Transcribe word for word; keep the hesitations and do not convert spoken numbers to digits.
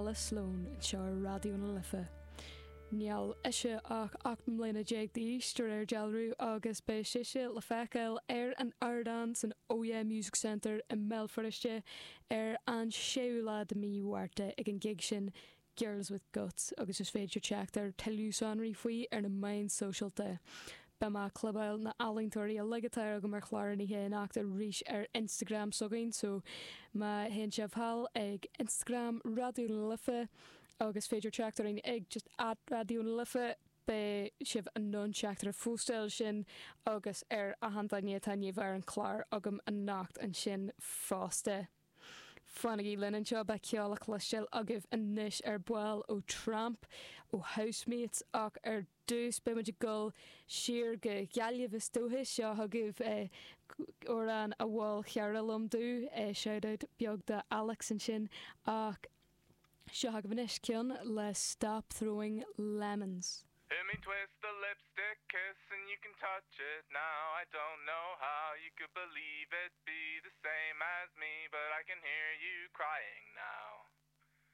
Alice Sloane anseo ar Raidió na Life. Níl ise ach ocht mbliana déag d'aois de réir dealraimh agus beidh sise le feiceáil ar an ardán san Oh Yeah Music Centre i mBéal Feirste ar an séú lá de mí Mhárta ag an gig sin Girls with Guts agus is féidir teacht ar tuilleadh sonraí faoi ar na meáin sóisialta. Beidh mé ag clibeáil na n-ealaíontóirí uilig atá agam ar chlár an oíche anocht arís ar Instagram s'againn so má théann sibh thall ag Instagram Raidió na Life agus féidir teacht orainn ag just at Raidió na Life beidh sibh in ann teacht ar an phóstáil sin agus ar achan duine atá inniu ar an chlár agam anocht ansin fosta. Fanaigí linn anseo beidh ceol le cloisteáil agaibh anois ar ball ó Tramp ó Housemates ach ar dtús beimid ag dul siar go Gaillimh is dócha seo chugaibh amhrán a mhol cara liom domh shoutout beag do Alex ansin ach seo chugaibh anois ceann le Stop Throwing Lemons. Hear me twist the lipstick kiss and you can touch it now. I don't know how you could believe it be the same as me, but I can hear you crying